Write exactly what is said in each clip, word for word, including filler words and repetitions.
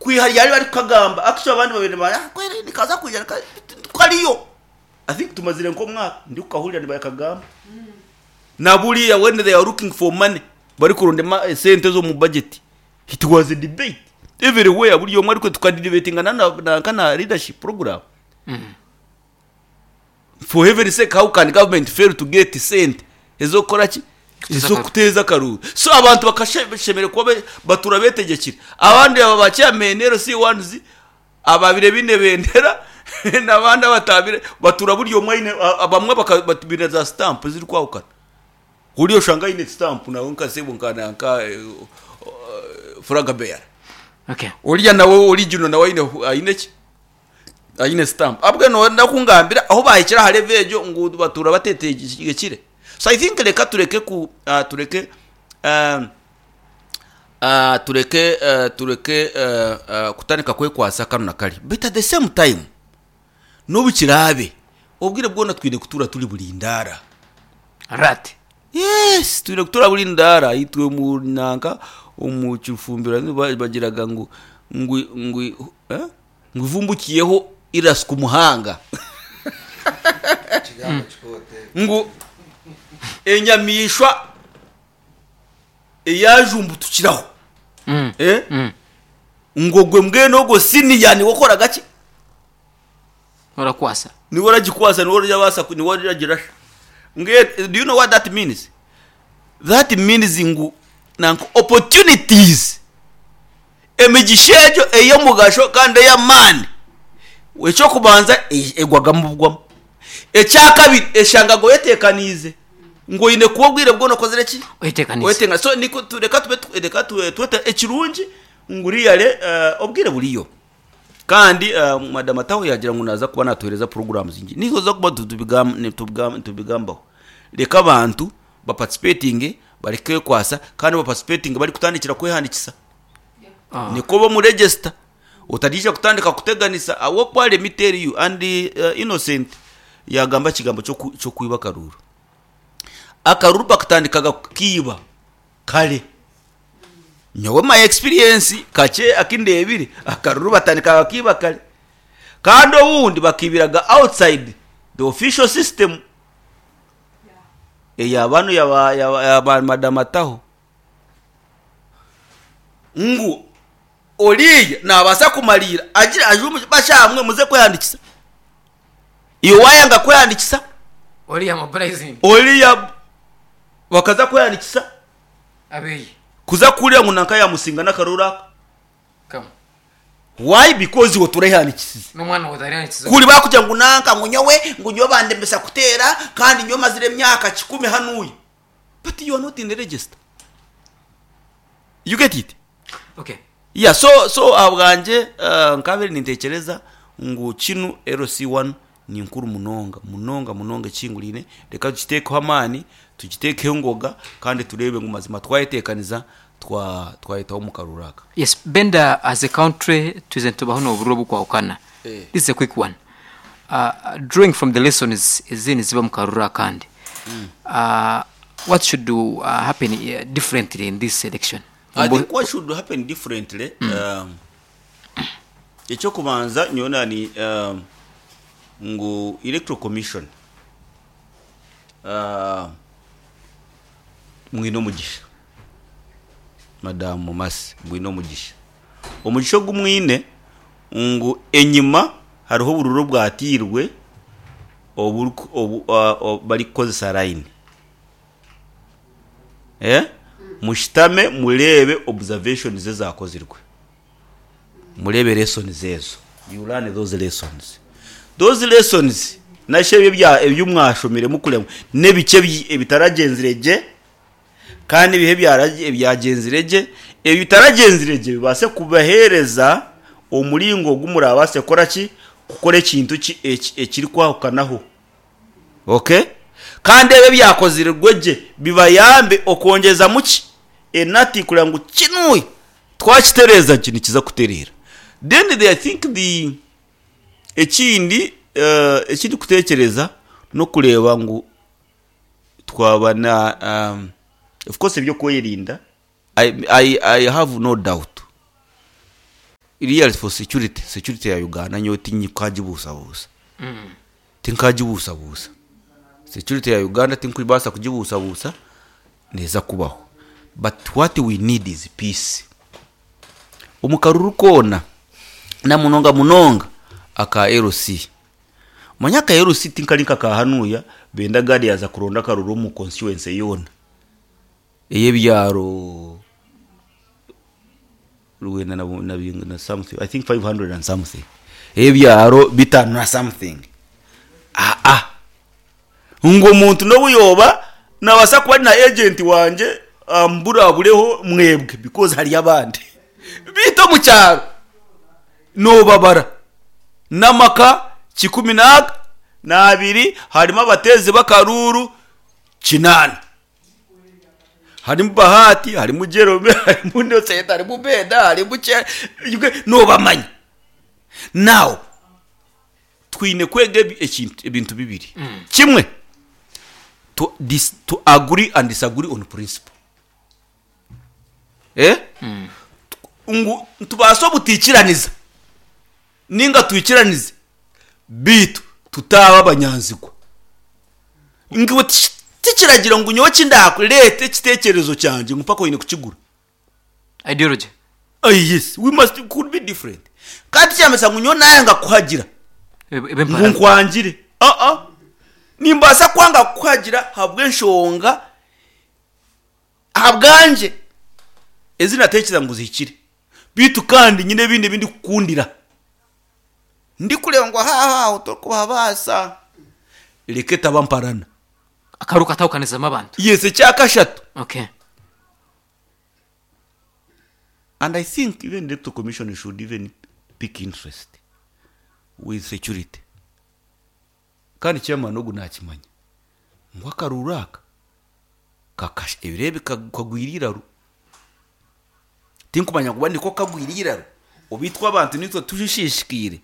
Kwiha ryari barikukagamba actually abandi babiri ba "Ah, kweri nikaza kwija nika- kariyo i think tumazire nk'omwaka ndikukahurira nibakagamba na buriya when they are looking for money barikuronda ema- esente z'omu budget it was a debate everywhere buri omwe ariko tukadebatinga na na na leadership program for heaven's sake how can government fail to get sente ezokukora ki ezokuteza akaruru so abantu bakashemerera kuba be- batura betegekire abandi aba ba chairman LC ones ababire bine bendera n'abandi abatabire batura buri omwe aine a- bamwe bakabine za stamp ziri kwahukana uriyo oshanga aine stamp nawe nkasebo nkana nka eh, eh, flag bearer okay oriya nawe original nawe aine aine ki aine stamp abwe no ndakungambira aho bahikira aha level egyo ngu batura batetegekire so i think reka tureke ku uh, tureke um, uh, tureke uh, tureke uh, uh, kutandika kwekwasa kano na kari but at the same time n'obu kiraabe obwire bwona twine kutura turi bulindara rat yes twine kutura buri ndara itwe mu nanka omu kifumbira ba- bagiraga ngu ngu ngu eh? ngu ivumbukiyeho irasuka umuhanga Ekigambo kikote. ngu enyamishwa eyajumbutukiraho mm. eh? Mm. ngo gwe mbwene ogwo siniya niwe okoraga ki urakwasa niwe oragikwasa niwe orabasa niwe oragirasha mbwene do you know what that means that means ngu nanka opportunities emigisha egyo ey'omugasho kandi ey'amaani ekyokubanza e- egwagamu bugwamu ekyakabiri eshanga oyeteekaniize ngu oine kuba obwire bwona okozire ki oyetekanisa wetenga so niko tu- reka tube tu- reka tube twete ekirungi ngu riyale uh, obwire buriyo kandi uh, madam ataho yagira ngu naza kuba natuhereza programs zingi nizo za kuba tubigam- ni- tubigam- tubigambaho reka abantu baparticipating bareke kwasa kandi baparticipating bari kutandikira kwehandikisa Ah. niko bo mu register utadisha kutandika kuteganisa awo kwa let me tell you and uh, innocent yagamba kigambo cyo ku- cyo kwiba akaruru akaruru bakatandikaga kukiba kare nyowe my experience kake akindebire akaruru batandikaga kiba kare kandi obundi bakibiraga outside the official system eya bano yaba yaba, yaba madam ataho ngu oriya nabasa kumalira agira ajumu bashamwe muze kweyandikisa iyo wayanga kweyandikisa oriya mobilizing oriya bakaza kweyandikisa abeyi kuza kurira ngu nanka yamusinga n'akaruru aka kama why because iwe turayihandikisize n'umwana utariyandikiza kuri bakugira ngu nanka ngu nyowe ngu nyowe bandembesa kutera kandi nyowe mazire emyaka kikumi hanuya but you are not in the register you get it okay yeah so so abwanje uh, nkabere nintekereza ngu kinu LC one ni nkuru munonga munonga munonga ekingurine reka tukitekeho amaani tukitekeho engoga kandi turebe ngu mazima twayetekaniza twa twayetaho mu karuru aka yes benda as a country tuze tubaho n'obururo bukwahukana Eh. this is a quick one uh, drawing from the lessons ezindi ziba mu karuru akandi uh, what should do, uh, happen uh, differently in this election I think what should happen differently um, ekyokubanza nyona ni um, ngu electoral commission uh, mwine omugisha madamu masi mwine omugisha omugisha ogu mwine ngu enyima hariho obururu bwatiirwe oburiku- obu uh, obu- barikukozesa line eh mushitame murebe observations ezakozirwe murebe lessons ezo you learn those lessons those lessons nashe ebyo bya ebyo mwashomire mukurema n'ebice byi- ebitaragenzire gye kandi ibihe byarage- ebyagenzire gye ebitaragenzire gye bibase kubahereza omuringo gumurabase kukora ki kukora ekintu ki eki- ekiri kwahukanaho okay kandi ebyo byakozirwe gye bibayambe okwongeza muki enati kugira ngu kinuye twakitereeza ki nikiza kutereera then they, i think the ekindi uh, ekindi kutekereza n'okureeba ngu twaba na um, of course ebyokwerinda I, I, i have no doubt Really for security, security ya Uganda nyowe tinkagibuusabuusa. Tinkagibuusabuusa. Security ya Uganda tinkubaasa kugibuusabuusa, neeza kubaho. But what we need is peace. Omu karuru koona, na munonga munonga aka L C. Manya aka L C tinkari nka ka hanuya, benda guard yaaza kuronda akaruru omu constituency yoona ey'ebyaro rwenda na, na, na something, I think five hundred and something, ey'ebyaro bitaano na something. Aa, ngu omuntu n'obu yoba nabaasa kuba ari na agent wangye amburabureho mwebwe because hariyo abandi biita omu kyaro nobabara n'amaka kikumi n'aga n'abiri, harimu abateezi b'akaruuru kinaana, harimu Bahati, harimu Jerome, harimu Innocent, harimu Beda, harimu Che, nobamanya. Now twine kwega ebi- ekintu ebintu bibiri. Kimwe, to, dis, to agree and disagree on principle, eh? Ngu tubaase obutikiraniza ninga twikiranize, bitu tutaba abanyanzigwa. Ngiwe tish- tikiragira ngu nyowe kindakureeta ekitekerezo kyangye ngu mpaka oine kukigura. Ideology. Ah, yes, we must could be different. Kandi kyamesa ngu nyowe nayanga kuhagira Ebe- ngu ebempara nkwangire. Aa, nimbaasa kwanga kuhagira habw'enshonga ahabwangye ezi natekereza ngu zihikire, bitu kandi nyine ebindi ebindi kukundira ndikureba ngu ahaha torikubabaasa, reka etaba mparana. Akaru katawukanizamo abantu. Yes, ekyakashatu, okay and I think even the Electoral Commission should even pick interest with security. Kandi chairman ogu nakimanya ngu akaruru aka kakasha ebirebe kagwira iraru. Tinkumanya kuba niko kagwira iraru obitwa abantu nitwe tujishishikire,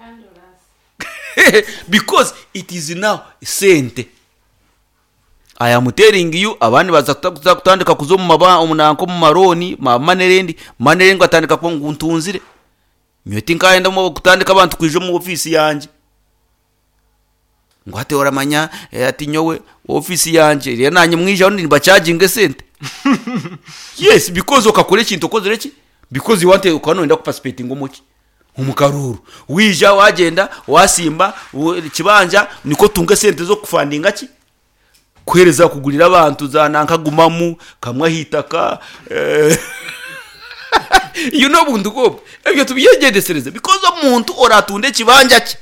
because it is now sente. I am telling you, abandi baza kuta- kuza kutandika kuza omu maba omunanko omu maroni ma money money ngatandika kuba ngu ntunzire. Nyowe tinkayenda mu kutandika abantu kwija omu ofisi yangye ngu ate oramanya, eh, ati nyowe ofisi yangye rero nanye mwijaho nibachaginga esente. Yes, because okakora ekintu okozere ki? Because you want, ukaba noyenda kuparticipatinga omuki? Omu karuru. Wija wagenda wasimba u- kibanja niko tunga esente z'okufandinga ki? Kuhereza kugurira abantu za nankagumamu kamwe ahitaka, eh, you know buntu bwobwo ebyo tubyegendesereze, because omuntu oratunda ekibanja kye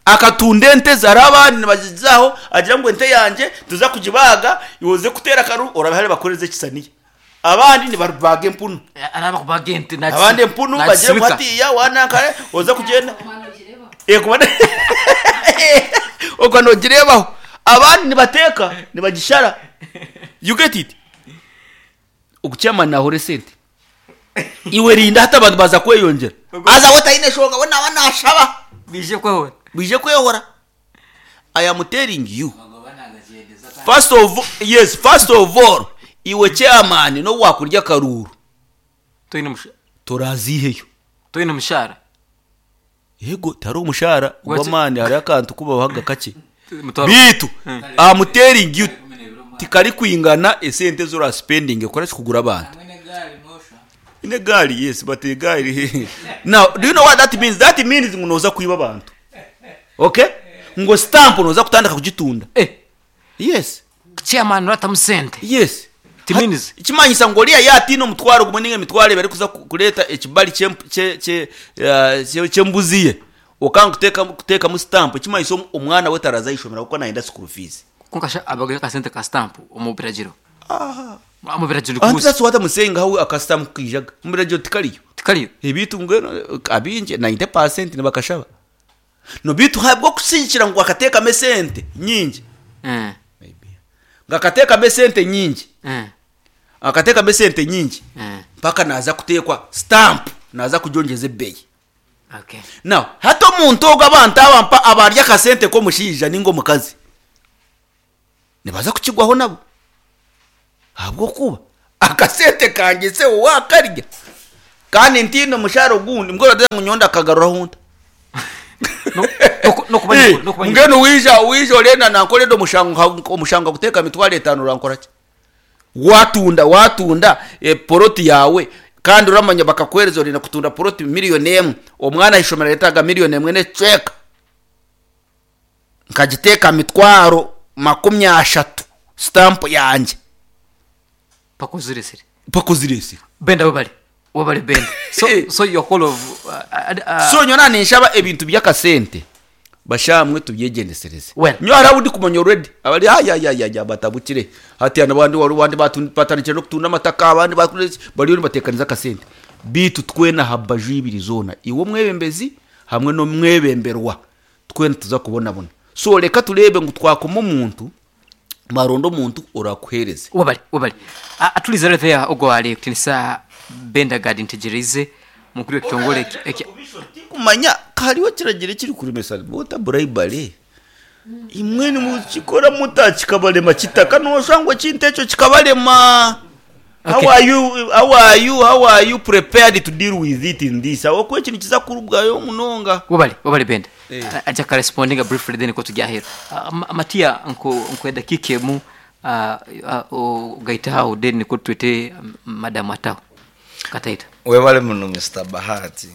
akatunda ente ze, hariho abandi nibazizaho agira ngu ente yangye tuza kugibaga yoze kutera akaru, orabihari bakoreze ekisaniya, abandi nibabaga empunu. Araba kubaga ente. Abandi empunu bagire ngu hatiya wanankare oza kugenda Eh, kuba okwo nogirebaho, abandi nibateeka nibagishara. You get it? Okukyama nahora esente, iwe rinda hati abantu baza kweyongera, aza we taine shonga, we naba nashaba. Bije kwehora. Bije kwehora. I am telling you, first of yes first of all, iwe chairman no wakurya akaruru, toyine musha turaziheyo. Toyine mushara. Yego, tari omushara What's- gw'amaani, hariho akantu kubabahaga kakye. Mutwaro. Bitu I'm telling you, tikari kwingana esente zora spending ekora kugura abantu ine gari. Yes, but egari now, do you know what that means? That means ngo noza kwiba abantu, okay? Ngo stamp noza kutandika kugitunda. Eh. Yes. Chairman uratamusente. Yes. Timinizi. Kimanyisa ngo oriya yatina omutwaro gumwe ninga emitwaro ebiri kuza ku- kureeta ekibali ky'emp- kye- kye- eh, kye- ky'embuzi ye, okanga kuteekamu kuteekamu stamp, kimanyisa omu- omwana we taraza ishomero kuko nayenda school fees. Kunkasha abaga akasente ka stamp omu biragiro, mu biragiro. Anti kubuza. that's what I'm saying, how akastamp kijaga mu biragiro tikariyo. Tikariyo. Ebitu mbwenu abingi ninety percent nibakashaba no bitu habwo kusigikira ngu akateekamu esente nyingi. Eh. Maybe ngo akateekamu esente nyingi, eh akateekamu esente nyingi, eh mpaka naza kuteekwa stamp, naza kugyongyeza ebbeeyi. Okay now hati omuntu ogwo, abantu abampa abarya akasente k'omushaija ninga omukazi nibaza kukigwaho nabo, ahabwokuba akasente kangye se wakarya. Kandi ntine omushara ogundi mbwenu ngu nyowe ndakagaruraho nta. No- no- nokuba Eh, nyoko- nokuba nyoko. mbwenu wija wija orenda nankorera omushango omushango guteeka mitwaro etaano urankora ki? Watunda watunda e, poroti yawe kandi uramanya bakakuhereza orenda kutunda poroti miliyoni emwe, omwana aishomero aretaga miliyoni emwe n'ekicweka, nkagiteeka mitwaro makumi ashatu sitampu yangye. Pakuziresire. Pakuziresire. Benda webale webale Benda. So Eh. so your call of uh, uh, So nyona ninshaba ebintu by'akasente bashamwe tubyegendesereze. Well. Nyo hari abo ndi kumanya already abari ayayayaya batabukire hati abandi wari abandi batu- batandikire no kutunda amataka, abandi bakureze bariyo nibatekaniza akasente. Bitu twena habaju ibiri zona, iwe omwebembezi hamwe n'omwebemberwa, twena tuza kubonabona. So reka turebe ngu twakoma omuntu maronda omuntu orakuhereze. Webale webale. uh, atuliza there ogwo ali kutinisa Benda Gad ntegereze mukuru w'ekitongole eki- eki- Tikumanya hariho kiragiro kiri kuremesa bota bribery, imwe nimukikora muta kikabarema kitaka noshangwa ekintu ekyo kikabarema. How Okay. are you how are you how are you prepared to deal with it in this aho ekintu kiza kurubwayo munonga? Webale webale Benda. Eh. uh, aja ka respondinga briefly then ko tujya uh, Ma- matia nko nko dakika emu uh, uh, gaita aho then niko twete um, Madam Ataho Kataita. Webale muno Mister Bahati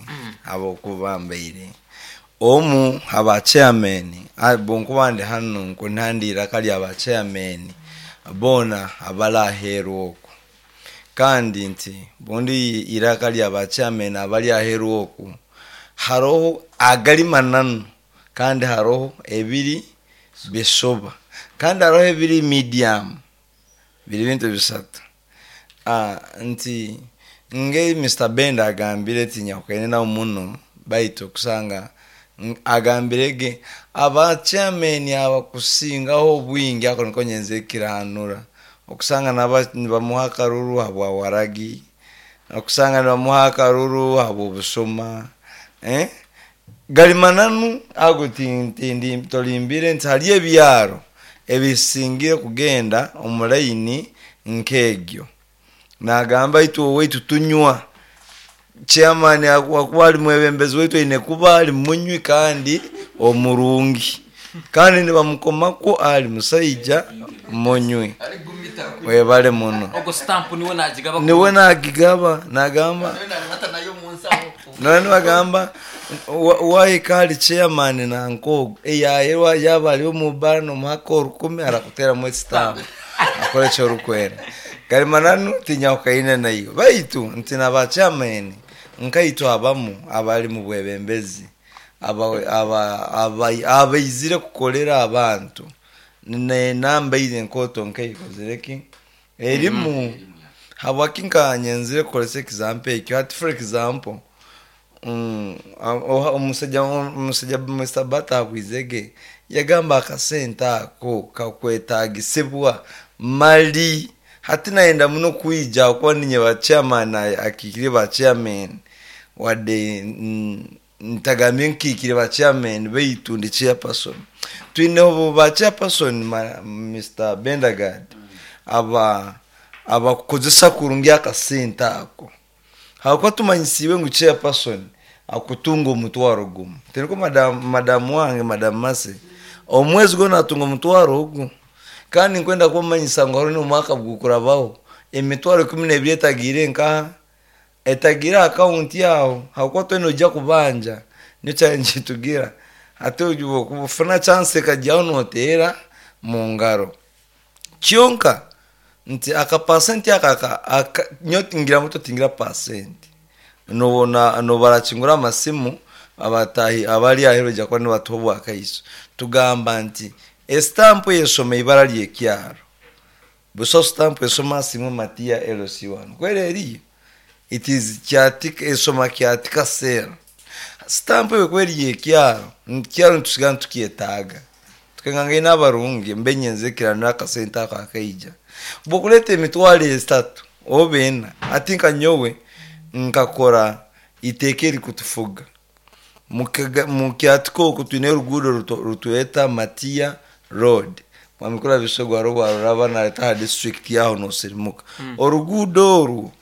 abokuba mbaire omu aba chairman bonkuba ndi hano nkunhandira kali aba chairman bona abalaheru oku, kandi nti bundi iraka lya ba chairman abali aheru oku haroho agali mananu, kandi haroho ebiri bisoba, kandi haroho ebiri medium, biri bintu bisatu. Ah, nti nge Mister Benda agambire ti nyakukaine nawo muno baitu okusanga n- agambire ge aba chairman abakusingaho obwingi ako niko nyenze kiranura okusanga naba nibamuha akaruru habwa waragi, okusanga nibamuha akaruru habwa obusoma, eh? Gali mananu ago tindi tolimbire nti hali ebyaro ebisingire kugenda omulayini nk'egyo. Nagamba itwe owaitu tunywa, chairman akuba ali mwebembezi waitu aine kuba ali munywi kandi omurungi, kandi nibamukomako ali musaija munywi. Webale muno. Ogwo stamp niwe nagigaba. Niwe nagigaba nagamba none bagamba wahika ali chairman nankogo eyayerwa yaba ali omubara nomuhaka orukumi arakuteramu estamp akora ekyorukwera. Gali mananu tinyakukaine nayo baitu nti naba chairman nkaitu abamu abali mu bwebembezi abaizire kukolera abantu nenamba ize enkoto nkeikozireki erimu habwaki nkanyenzire kukolesa example ekyo. Hati for example mm, omusajja omusajja Mister Bata abwizege yagamba akasente ako kakwetagisibwa mali hati naenda muno kwija kuba ninye ba chairman akikire ba chairman wadde ntagambye nkikire ba chairman baitu ndi chairperson twineho ba chairperson Mister Bendagard aba abakukozesa kurungi akasente ako hakuba tumanyisiwe ngu chairperson akutunga omutwaro gumu tiniko madam madam wange Madam Mase omwezi gwona atunga omutwaro ogu kandi nkwenda kumanyisa ngu hariho n'omwaka gukurabaho emitwaro ikumi n'ebiri etagiire nkaha etagiire akaunti yaho hakuba twena ojja kubanja niyo challenge tugira ate okufuna chance ekajyaho noteera mu ngaro kyonka nti aka percent aka aka nyo tingira muto tingira percent nobona nobarakingura amasimu abatahi abali ahero ja kwa nibatuhobwa akaiso tugamba nti estamp yesoma ibara lyekyaro buso stamp esoma simu Matia L C one kwere eriyo it is kyatika esoma kyatika sera stamp yo kweri yekyaro nkyaro ntusiga ntukyetaaga tukenganga n'abarungi mbenyenze kirana akasente ako akaija bokuleta emitwaro esatu oba ena ati nka nyowe nkakora iteeka erikutufuga mukyatika oku twine oruguudo rutweta Matia Road mwamikura bisogo hariho rwaruraba nareta aha district yaho nosirimuka mm. Oruguudo orwo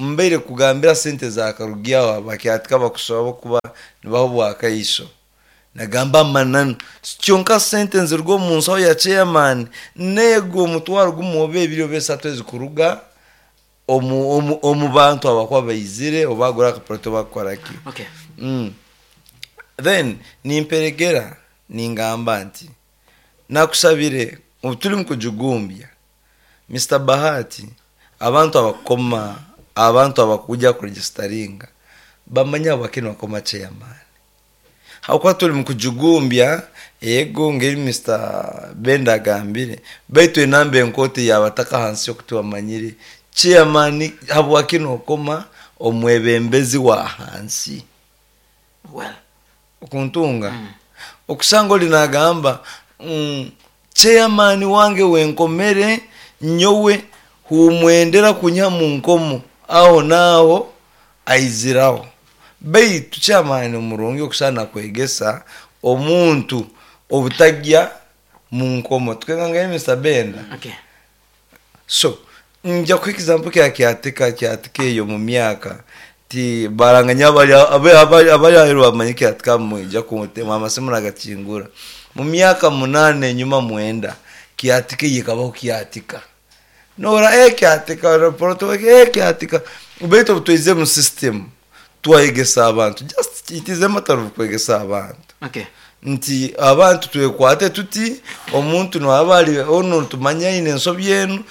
Mbaire kugambira sente za karugyaho bakyatika bakusaba kuba nibaho bwakaiso. Nagamba amananu kyonka sente nzirwa omu nsaho ya chairman nego omutwaro gumwe oba ebiri oba esatu ezikuruga omu, omu, omu bantu abakuba baizire obagura akaproto bakukoraki. Okay. Mm. Then nimperegera ningamba nti nakusabire ubu turi mu kujugumbya Mister Bahati, abantu abakoma abantu abakuja kuregistaringa bamanya bakino bakoma chairman hakuba turi mu kujugumbya. Ego ngeri Mister Benda agambire baitu enamba enkoti yabataka hansi yokutubamanyire chairman habwakino okoma omwebembezi wa hansi. Well, okuntunga mm. Okusanga oli nagamba mm, chairman wange wenkomere nyowe humwendera kunya mu nkomo aho naho aiziraho. Baitu chairman omurungi okusana kwegesa omuntu obutagya mu nkomo tukenganga Mister Benda. Okay. So nja ku example kya kyatika kyatika eyo mu myaka ti baranganya abali abali abali ahero bamanye kyatika mweja kumutema amasimu nagakingura mu myaka munane nyuma mwenda kyatika yikabaho kyatika nora e kyatika report e kyatika beto tuize mu system twayegesa abantu just it is a matter of kwegesa abantu. Okay. Nti abantu twekwate tuti omuntu nwabali ono tumanya ine ensobi enu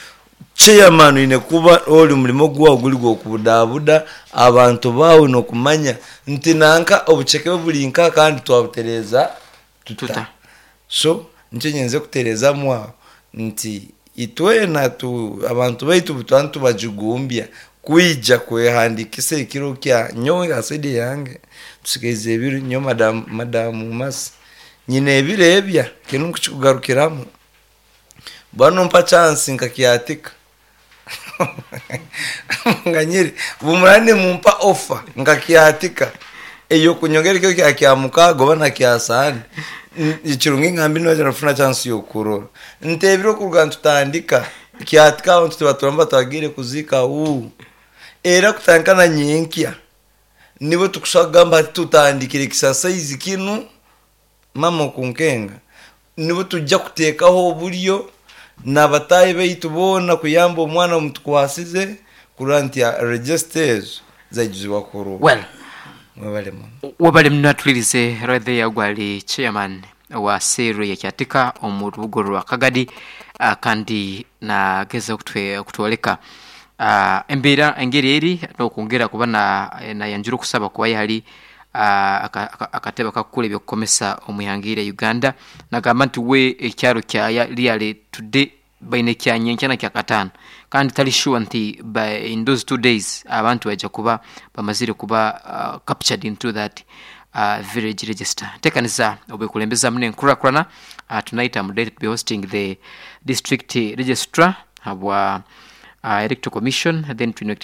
chairman ine kuba oli mulimo gwa guli gwokubudabuda abantu bawe nokumanya nti nanka obucheke buli nka kandi twabutereza tuta. Tuta. So nche nyenze kutereza mwa nti itwena tu abantu baitu butwantu bajugumbya kuija kwehandikisa ekiro kya nyowe asidi yange tusigeze ebiru nyo madam madamu mas nyine ebirebya kinu kukigarukiramu bano mpa chance nkakyatika nganyiri bumurane mumpa offer nkakyatika eyo kunyongera kyo kya kyamuka goba na kyasani ikirungi ngambi no nafuna chance yo kurora ntebiro kuruga tutandika kyatika abantu tubaturamba twagire kuzika u era kutankana nyenkya nibo tukusagamba tutandikire kisasa izi kinu mama kunkenga nibo tujja kutekaho oburyo nabatayi baitu bona kuyamba omwana omutukwasize kuranti ya registers zajuzibwa kuru. Well, mwebale muno wabale mnatulirize right there gwali chairman wa seru ya Kyatika omu rubugo rwa Kagadi, uh, kandi nageza kutwe kutwoleka uh, embeera engeri eri n'okwongera kuba na nayanjura okusaba kuba yali uh, akatebe akakukula ebyokukomesa omuhangire Uganda nagamba nti we ekyaro kya liale today baine kyanyenkya na kyakataano kandi tali sure nti by in those two days abantu bajja kuba bamazire kuba uh, captured into that uh, village register. Tekanisa obwekulembeza mune nkurakurana. Uh, tonight I'm delighted to be hosting the district registrar habwa uh, electoral commission, then twine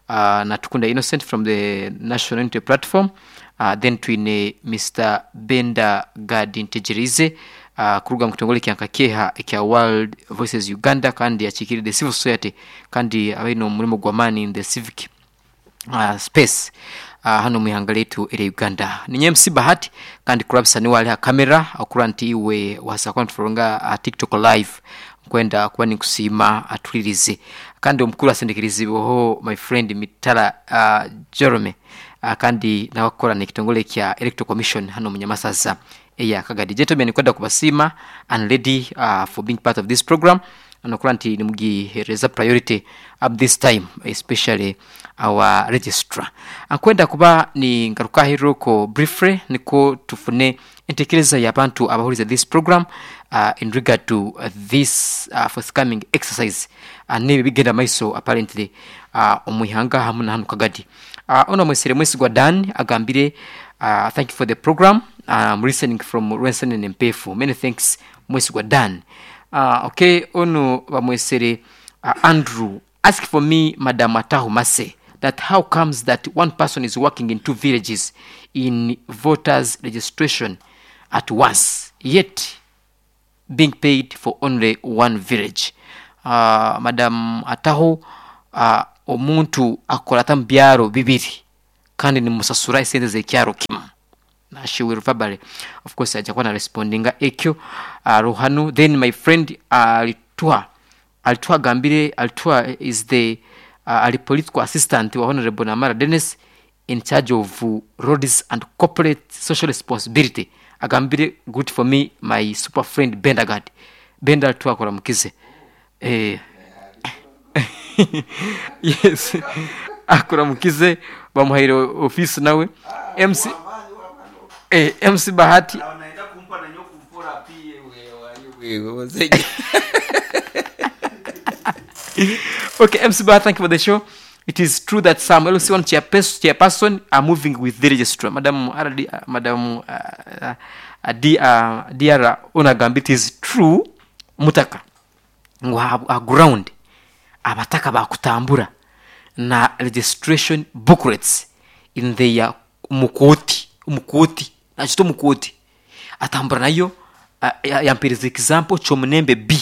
uh, Natukunda Innocent from the National Unity Platform, uh, then twine Mister Benda Gadi Ntegerize uh, kuruga mu kitongole kya Nkakeha ekya World Voices Uganda kandi akikirire the civil society kandi abaine omurimo gw'amaani in the civic uh, space uh, hano muihanga letu ere Uganda. Ninye M C Bahati kandi kurabisa ni wali ha kamera okura nti iwe wasa kwa uh, TikTok live kwenda kuba nikusiima atulirize kandi omukuru asendekerizibweho my friend Mitala uh, Jerome uh, kandi nawakora n'ekitongole kya Electoral Commission hano munyamasaza eya Kagadi. Gentlemen, kwenda kubasiima and lady uh, for being part of this program anokura nti nimugihereza priority up this time especially our registrar. Akwenda kuba ni ngaruka ko briefly niko tufune entekereza y'abantu abahuriza this program uh, in regard to uh, this uh, forthcoming exercise uh, nibi bigenda maiso apparently uh, omuihanga hamwe na hano Kagadi. Uh, ono mwesere Mwesigwa Dan agambire uh, thank you for the program. I'm um, listening from Rwensen and Mpefu. Many thanks Mwesigwa Dan. Uh, okay, ono bamwesere uh, Andrew ask for me Madam Atahu Mase that how comes that one person is working in two villages in voters registration at once yet being paid for only one village. Uh, Madam Atahu uh, omuntu akora ata mu byaro bibiri kandi nimusasura esente z'ekyaro kimu. Na she will verbally, of course, ajja kuba na respondinga ekyo uh, ruhanu. Then my friend alituha alituha agambire, alituha is the uh, ali political assistant wa Honorable Namara Dennis in charge of uh, roads and corporate social responsibility. Agambire, good for me, my super friend Bendagard. Benda alituha akora mukize eh yes, akora mukize, bamuhaire office nawe M C, eh, M C Bahati. Okay, M C Bahati, thank you for the show. It is true that some L C one chairpers- chairperson are moving with the registrar. Madam R D, uh, Madam uh, uh, D, uh, D R Onagamba, it is true mutaka ngu ha, ha ground abataka bakutambura na registration booklets in their mukoti mukoti nakito mukoti atambura nayo. uh, yampereza example Kyomunembe B,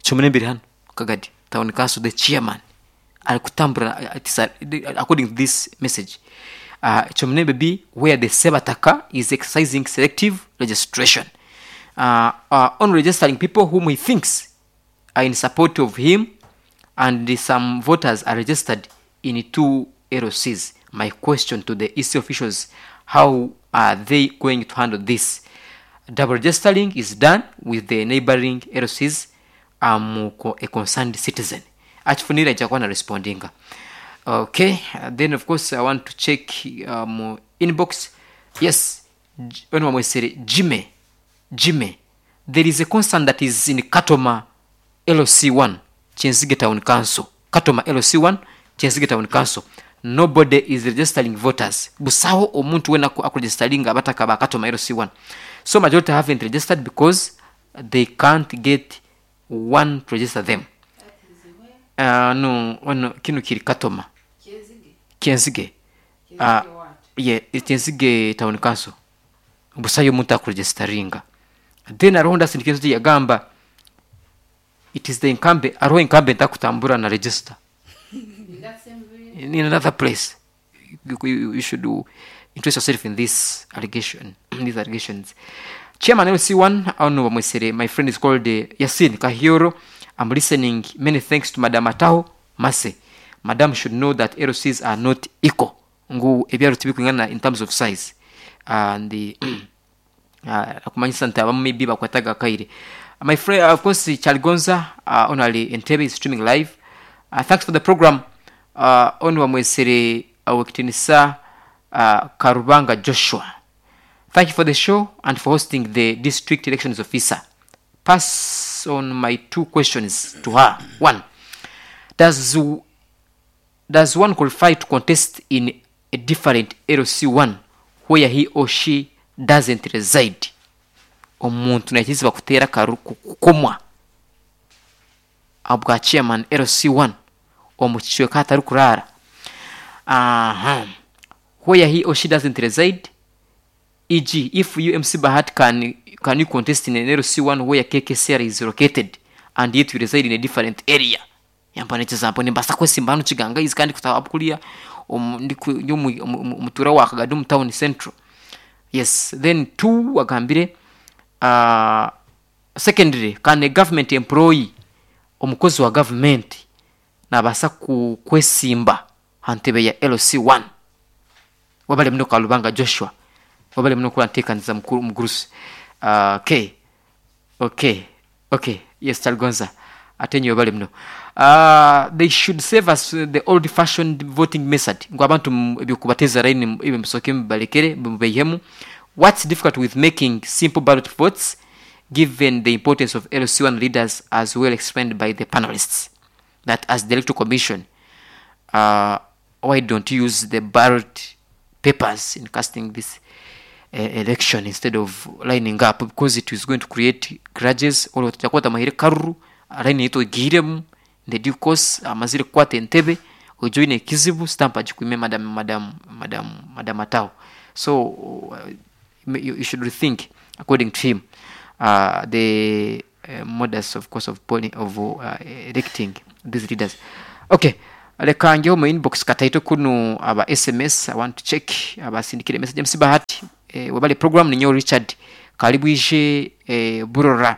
Kyomunembe iri hano Kagadi Town Council, the chairman ari kutambura, uh, it is a- according to this message, uh, Kyomunembe B, where the sebataka is exercising selective registration uh, uh, on registering people whom he thinks are in support of him, and some voters are registered in two L Cs. My question to the E C officials, how are they going to handle this? Double registering is done with the neighboring L Cs. I'm a concerned citizen. Achifunira itakuwa na respondinga. Okay, uh, then of course I want to check um, inbox. Yes, J- ono wamwesere Jime. Jime. There is a concern that is in Katoma L C one, Kyenzige Town Council. Katoma L C one, Kyenzige Town Council. Nobody is registering voters. Busaho omuntu wena aku akuregisteringa abataka ba Katoma L C one. So majority haven't registered because they can't get one to register them. Uh, no, ono kino kiri Katoma. Kyenzige. Uh, yeah, Kyenzige Town Council. Busayo omuntu akuregisteringa. Then aroho ndasindika yagamba it is the incumbent, aroho incumbent akutambura na register in another place. you, you, you should do, interest yourself in this allegation, these allegations. Chairman L C one ono bamwesere, my friend is called uh, Yasin Kahioro. I'm listening. Many thanks to Madam Ataho Mase. Madam should know that L Cs are not equal, ngu ebyaro tibikwingana in terms of size, and the uh, akumanyisa nti abamu maybe bakwataga akaire. My friend, of course, Chalgonza uh, onali Entebbe is streaming live. uh, thanks for the program. uh, ono bamwesere awekitinisa uh, Karubanga Joshua, thank you for the show and for hosting the district elections officer. Pass on my two questions to her. One, does does one qualify to contest in a different L C one where he or she doesn't reside? Omuntu nakiziba kuteera karu kukomwa abwa chairman L C one omu kicweka hatari kurara, aha, where he or she doesn't reside, for example if you, M C Bahat, can can you contest in an L C one where K K C R is located and yet you reside in a different area? Yamba n'ekizampo nimbasa kwesimba hano Kiganga izi kandi kutaba kuriya omu- ndi ku- ndi omu- omu- omu- omutura wa Kagadi omu town central. Yes, then two, agambire, uh, secondary, can a government employee, omukozi wa government nabasa ku kwesimba ha ntebe ya L C one? Wabale muno Kalubanga Joshua, wabale muno kuba nteekaniza mukuru mugurusi. uh, okay okay okay yes, Talgonza ate nyo wabale muno. uh, they should save us the old fashioned voting method, ngu abantu mu- ebyokubateza line ebyo musoke mubalekere mubeihemu. What's difficult with making simple ballot votes, given the importance of L C one leaders as well explained by the panelists, that as the Electoral Commission, uh, why don't you use the ballot papers in casting this uh, election instead of lining up? Because it is going to create grudges. Olwo tutakwata mahire karuru line yito igiremu in the due course amazire kukwata entebe ojoine ekizibu stamp agikwime madam madam madam madam Atao. So uh, you, you should rethink, according to him, uh, the uh, modus of course of polling, of uh, electing these leaders. Okay. Leka ngeho mu inbox kataito kunu aba S M S, I want to check abasindikire message. M C Bahati, eh, webale program ninyo Richard Kalibwije, eh, Burora,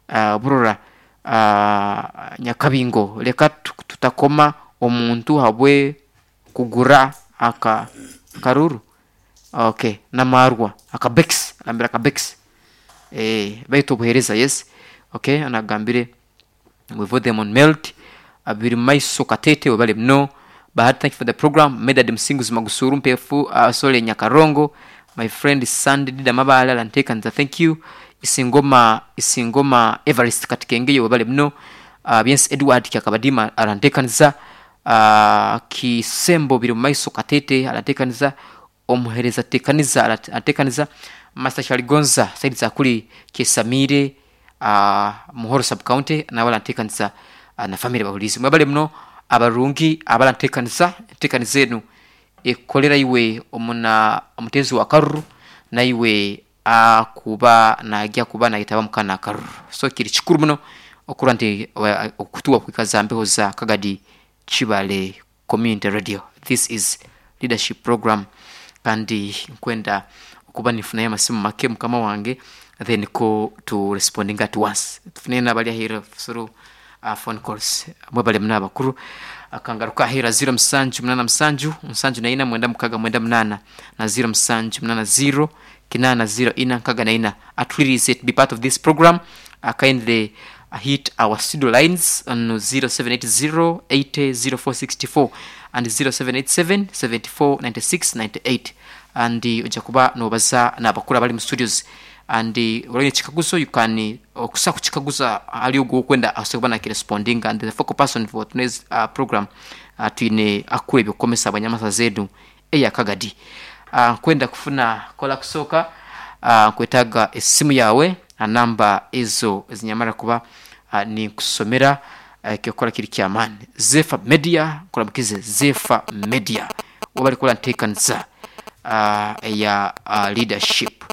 uh, Burora, uh, Nyakabingo. Leka tutakoma omuntu habwe kugura aka karuru. Okay, namarwa akabex, agambira akabex. Eh, baitu obuhereza, yes. Okay, anagambire we vote them on melt. Abiri maiso katete webale mno. Bahati, thank you for the program. Medad Msinguzi Magusuru Mpefu, uh, Sole Nyakarongo, my friend Sandy Dida Mabala Lantekanza, thank you. Isingoma Isingoma Everest Katikenge webale mno. Uh, Biense Edward Kyakabadima alantekanza. Uh, Kisembo biri maiso katete alantekanza. Omuhereza tekaniza alantekanza. Master Shaligonza Said Zakuli Kesamire, uh, Muhoro sub county na wala ntekanza, uh, na family bahulizi mwebale mno abarungi abala ntekanza ntekanizenu ekolera iwe omuna omutezi wa karuru na iwe akuba najya kuba nayitaba mukana karuru. So kiri kikuru muno okura nti okutuwa kwikaza mbeho za Kagadi Chibale Community Radio. This is leadership program kandi nkwenda okuba nifuna amasimu make mukama wange then ko to responding at once. Tufune nabali ahira through uh, phone calls. Mwebale mna abakuru akangaruka ahira zero msanju mnana msanju msanju na ina mwenda mukaga mwenda mnana na zero msanju mnana zero kinana zero ina nkaga na ina. Atwirize to be part of this program. Uh, kindly uh, hit our studio lines on zero seven eight zero eight zero four six four and zero seven eight seven seven four nine six nine eight and ojja kuba nobaza n'abakuru abali mu studios and olonye chikaguzo you can okusa kuchikaguza ali ogwo kwenda asobola na responding and the focal person for today's uh, program uh, twine akure byokomesa abanyamasa zedu eya Kagadi. Uh, kwenda kufuna kola kusoka uh, kwetaga esimu yawe na namba ezo zinyamara kuba uh, ni kusomera uh, kyokola kiri kyamani Zefa Media kulamukize Zefa Media wabali kola ntekanza uh, ya uh, leadership.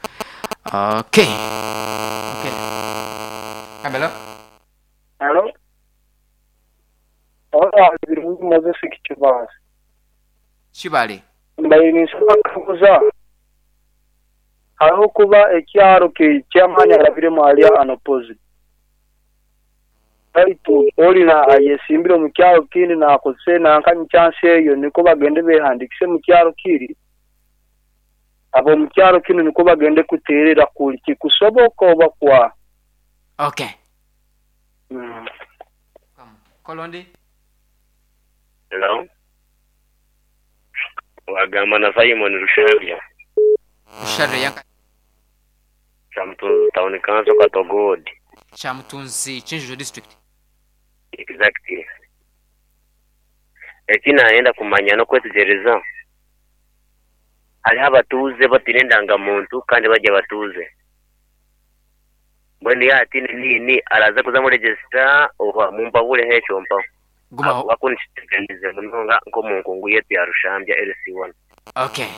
Okay. Okay. Hello. Hello. Hola, Birungi Moses Kichibale. Chibale. Mbaye nisaba kuza. Hariho kuba ekyaro ke chairman arabire alia anopozi. Baitu olina ayesimbire mu kyaro kindi na akose na nkanyi chance eyo niko bagende behandikise mu kyaro kiri. Abo mu kyaro kino niko bagende kuterera kuli kikusoboka oba kwa. Okay. Mm. Kolondi. Hello. Wagamba na Simon Rushavya. Rushavya yanka. Chamtunzi town council Katogodi. Chamtunzi Chinjo district. Exactly. Ekina aenda kumanya no kwetegereza. Hariho abatuuze batine endangamuntu kandi bajya batuuze. Mbwenu yaatine niini araza kuza mu register oba mumpabure hekyo mpaho. Gumaho. Wakunishitekanize munonga nk'omunkungu yetu ya Rushambya L C one. Okay.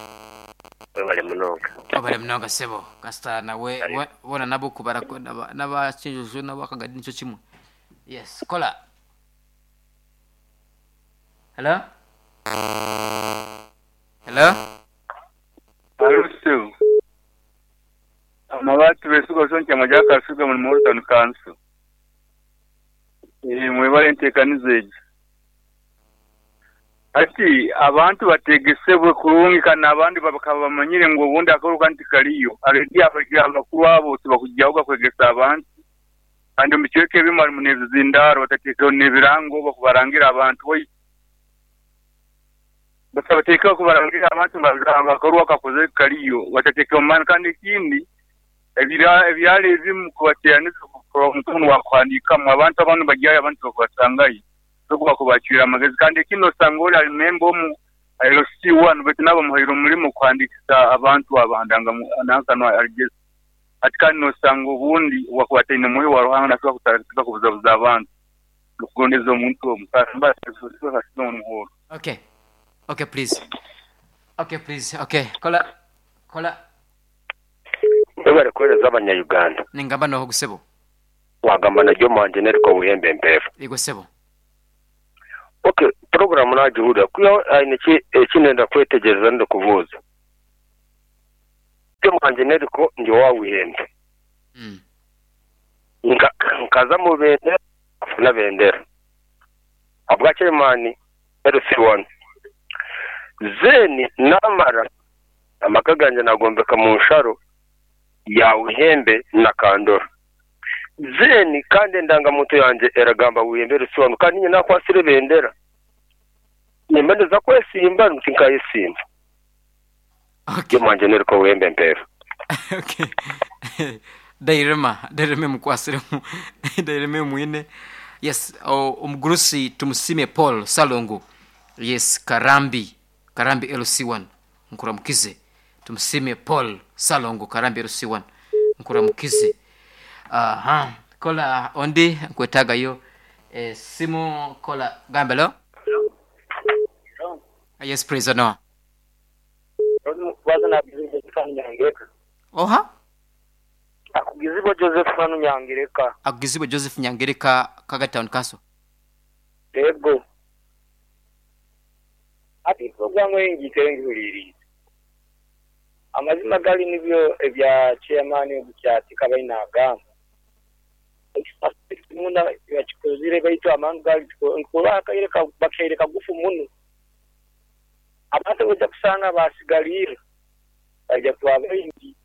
Webale munonga. Webale munonga sebo. Kasita nawe bona nabo kubara naba Chinjojo nabo Kagadi nico kimwe. Yes, kola. Hello? Hello? Alusu. Amabati besuka sonke amajaka asuga mu Morton Council. Eh mwebale ntekanize. Ati abantu bategesebwe kurungi kana abandi babakaba bamanyire ngo ubundi akaruka ntikaliyo. Already abakuru abo tibakujyaho kwegesa abantu. Kandi mu cweke bimwe mu nezindaro batatekeho nebirango bakubarangira abantu. Batateka kubarangira abantu bakaruwa kakoze kaliyo batateka man kandi ikindi ebira ebyale ebimu kubateraneza ku mukono wa kwandika mu abantu abantu bajyayo abantu bakubasangayo so kubacira amagezi kandi kino sangora remember mu L C one but nabo muhiro mulimo kwandikisa abantu abandanga nankano arigeze ati kandi no sango ubundi wakubatene muri wa ruhanga nakwa kutaka kubuzabuza abantu kugondeza omuntu omusamba muhoro. Okay. Okay, please. Okay, please. Okay. Kola. Kola. Webale kuweereza abanya-Uganda. Ningamba noho gusebo. Wagamba na Jomo Engineer ko Buhembe Mpefu. Yego sebo. Okay, program nagihurira kuya aine ki ekinenda kwetegereza ndikubuuza. Mwanje neriko ndi wawihembe. Mm. Nka nkaza mu bendera na bendera. Abwa chairman L C one. Zeni namara amaka ganje nagombeka mu nsharo ya Uhembe na Kandora. Zeni kandi ndangamuntu yanje eragamba Uhembe L C one kandi nyina nakwasire bendera. Nimendeza kwesimba ntinkayisimba. Okay. Mwanje neriko Uhembe mpero. Okay. Dairema, daireme mukwasiremu. Daireme mwine. Yes, omugurusi tumusime Paul Salongo. Yes, Karambi, Karambi L C one. Nkuramukize. Tumusime Paul Salongo Karambi L C one. Nkuramukize. Aha, kola ondi nkwetaga yo. Eh, simu kola gambelo. Yes, praise the Lord. Oha? Akugizibwa Joseph Manu Nyangereka. Akugizibwa Joseph Nyangereka Kaga Town Council. Yego. Ati programu yengi ngihuliriza. Amazima gali nibyo ebya chairman obukyati kabaina agamba. Muna yakikozire baitu amangu gali nkola akaire bakaire kagufu muno. Abantu bajja kusanga basigalire. Bajja kuba baingi.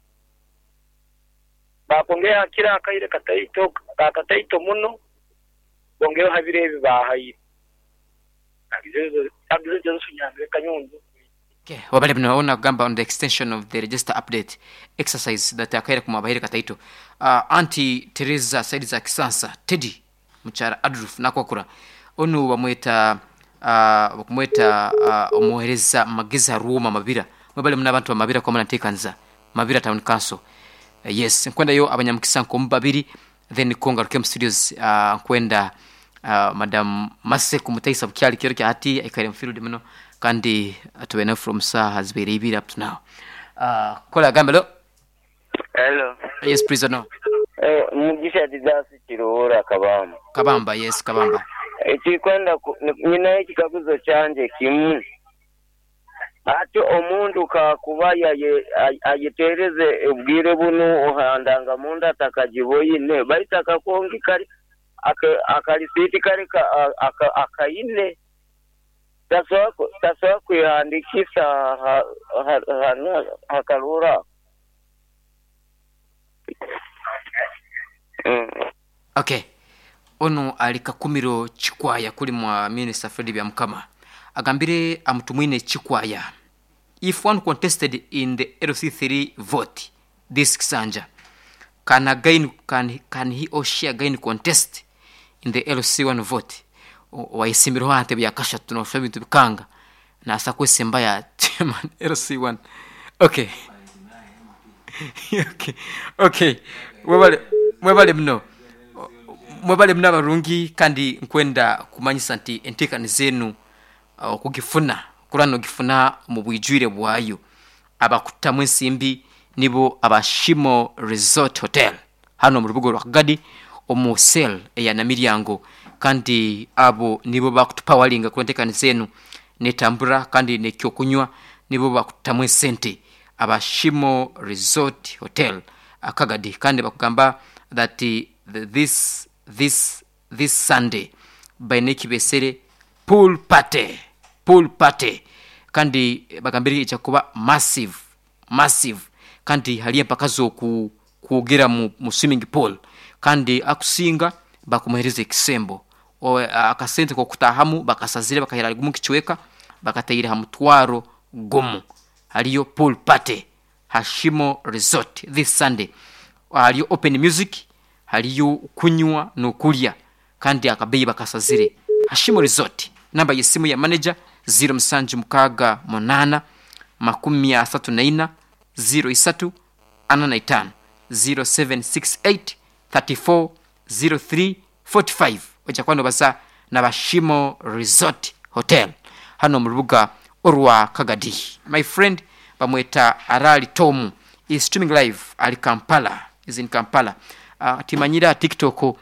Bakongera kila akaire kataito kataito muno bongera habire ebi bahaye. Agizezo agizezo Nyangereka nyondo. Okay, wabale mnaona gamba on the extension of the register update exercise that akaire kumabahiri kataito. Uh, Auntie Teresa Saidi za Kisansa Teddy Muchara Adolf nakwakura onu bamweta uh, bakumweta uh, omuhereza magiza ruoma mabira mwebale muna abantu bamabira kwa mnatekanza Mabira Town Council. Uh, yes, nkwenda yo abanyamukisa nko babiri then konga Rukem Studios uh, nkwenda uh, Madam Mase kumutaisa bukyali kiro kya hati ekaire mfield muno kandi atubene from saa zibiri ibiri up to now. Uh, kola gambelo. Hello. Yes, please no. Eh, Mugisha Didasi Kiruhura Kabamba. Kabamba, yes, Kabamba. Ekikwenda nyina ekikaguzo kyanje kimu. Ati omuntu kakuba ayetereze obwire buno ohandanga munda atakagiboyine baita kakongi kali akalisiti kali akayine tasobola kwihandikisa hakarura. Okay. Ono ali Kakumiro Chikwaya kuli mwa Minister Fred Byamukama agambire amutumwine Chikwaya. If one contested in the L C three vote this Kisanja, can a gain, can, can he or she again contest in the L C one vote? Waisimirwa ante byakasha tunosha bintu bikanga na asakwesemba ya chairman L C one. Okay. Okay. Okay. Mwebale mwebale mno. Mwebale mno abarungi kandi nkwenda kumanyisa nti entekani zenu okugifuna uh, kurano gifuna mu bwijwire bwayo abakutamu ensimbi nibo abashimo Resort Hotel hano mu rubugo rwa Kagadi omu sel eya Namiryango kandi abo nibo bakutupawalinga ku entekani zenu netambura kandi nekyokunywa nibo bakutamu esente abashimo Resort Hotel Akagadi kandi bakugamba that the, this this this Sunday by nekibesere pool party pool party kandi bagambiri ichakuba massive massive kandi haliye mpaka ku kuogera mu, mu swimming pool kandi akusinga bakumuhereza ekisembo akasente ko kutahamu bakasazire bakahera gumu kichweka bakatayira ha mutwaro gumu. Haliyo pool party Hashimo Resort this Sunday. Haliyo open music, haliyo kunywa no kulya kandi akabeyi bakasazire. Hashimo Resort, namba yesimu ya manager zero msanju mukaga munana makumi asatu na ina zero isatu ana na itano zero seven six eight thirty four zero three forty five. Oja kwano baza na Bashimo Resort Hotel hano mu rubuga orwa Kagadi. My friend bamweta Arali Tomu is streaming live ali Kampala, is in Kampala. Uh, timanyira TikTok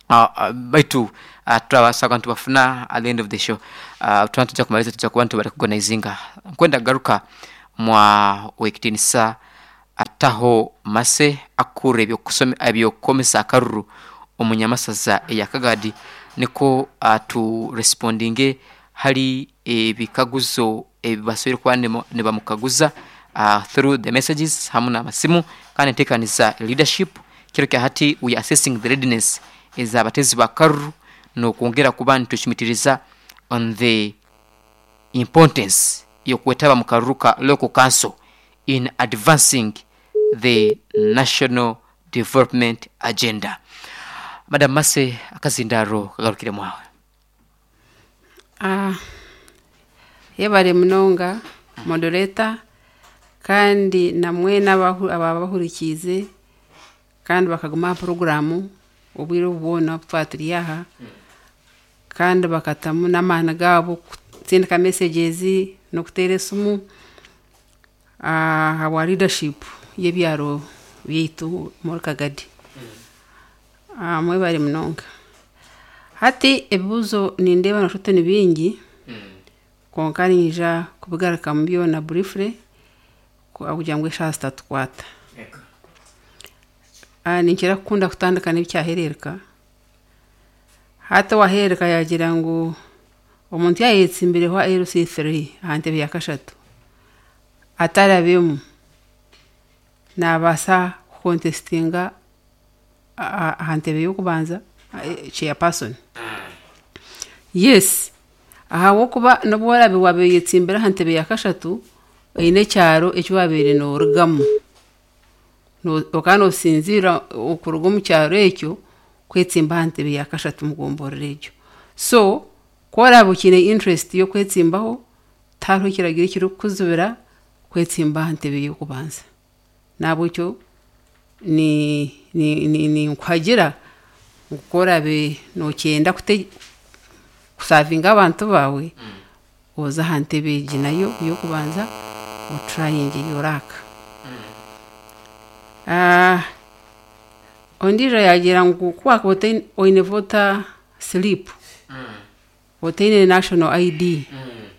Uh, uh, baitu uh, turabasa abantu bafuna at the end of the show. uh, tuba tujja kumaliza, tujja kuba nitubarecognizinga. Nkwenda garuka mwa wekitinisa ataho mase akura ebyokusome ebyokukomesa akaruru omunyamasaza eyakagadi, niko uh, tu respondinge hali ebikaguzo ebibasoboire kuba nibamukaguza uh, through the messages hamu n'amasimu. Kandi nteekaniza leadership kiro kya hati, we are assessing the readiness ez'abatezi ba karuru n'okwongera kuba nitucumitiriza on the importance y'okwetaba mu karuru ka local council in advancing the national development agenda. Madam Mase, akazindaro kagarukire mwawe. Ah, yebare munonga moderator, kandi namwe n'abahu- ababahurikiize kandi bakaguma aha poroguramu obwire obu bwona obu twaba turi aha, kandi bakatamu n'amaani gaabo kutsindika messages n'okuteera esimu ah, ahabwa leadership y'ebyaro byaitu muri Kagadi. Ah, mwebare munonga. Hati ebibuuzo nindeeba noshuta ni bingi, konka ninyija kubigarukamu byona briefly ku- kugira ngu eshaaha zitatukwata. Ah, ninkira kukunda kutandika n'ebikyahereereka. Hati owahereereka yagira ngu omuntu yayetsimbireho L C three aha ntebe ya kashatu atarabemu nabaasa kucontestinga aha aha ntebe y'okubanza, eh, chairperson? Yes, ahabw'okuba n'obu orabe waaba oyetsimbire aha ntebe ya kashatu, oine ekyaro eki wabaire noorugamu, No- okaba noosinziira okuruga omu kyaro ekyo kwetsimba aha ntebe ya kashatu mugomborora egyo. So ku orabe okiine interest y'okwetsimbaho, tihariho ekiragiro ekirikukuzibira kwetsimba aha ntebe y'okubanza. Nahabwekyo ni ni ni ninkuhagira ngu ku orabe nookyenda kute kusavinga abantu baawe, oze aha ntebe egi nayo y'okubanza, otrayinge your luck. Ah, ondiijo yagira ngu ku wakuba otaine oine voter slip, otaine national I D,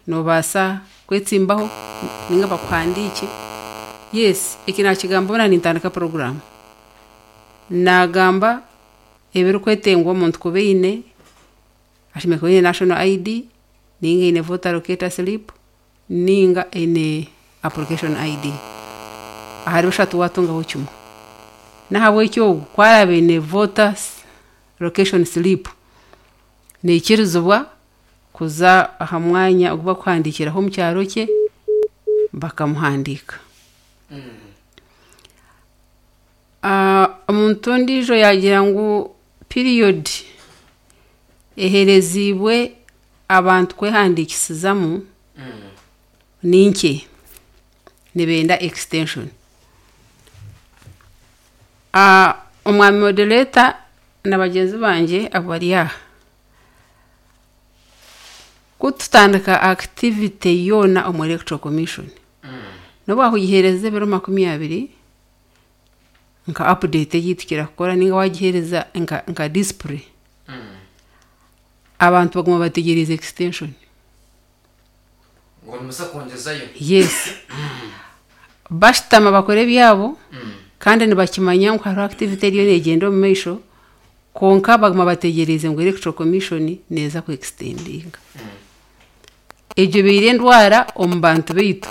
noobaasa kwetsimbaho ninga bakuhandiike? Yes, eki nakigamba obu nintandika poroguramu, nagamba ebirikwetengwa omuntu kuba eine: ashemereire kuba aine national I D, ninga eine voter locator slip, ninga eine application I D. Ahari bishatu watungaho kimwe. Nahabwekyo ogu ku araabe aine voter location slip, neikirizibwa kuza aha mwanya ogu bakuhandiikiraho omu kyaro kye bakamuhandiika. Ah, omuntu ondiijo yagira ngu period ehereziibwe abantu kwehandiikisizamu ni nkye, nibenda extension. Ah, omwami moderator na bagyenzi bangye abo bari aha, kututandika activity yoona omu Electoral Commission, n'obu wakugiheereza ebiro makumi abiri nka update ei tukira kukora, ninga wagiheereza nka, nka display, abantu baguma bategereza extension. Ngo nimuza kwongezayo? Yes, bashutama bakora ebyabo kandi nibakimanya ngu hariho activity eriyo neegyenda omu maisho, konka baguma bategereze ngu Electoral Commission neeza ku extendinga. Egyo ebaire endwara omu bantu baitu,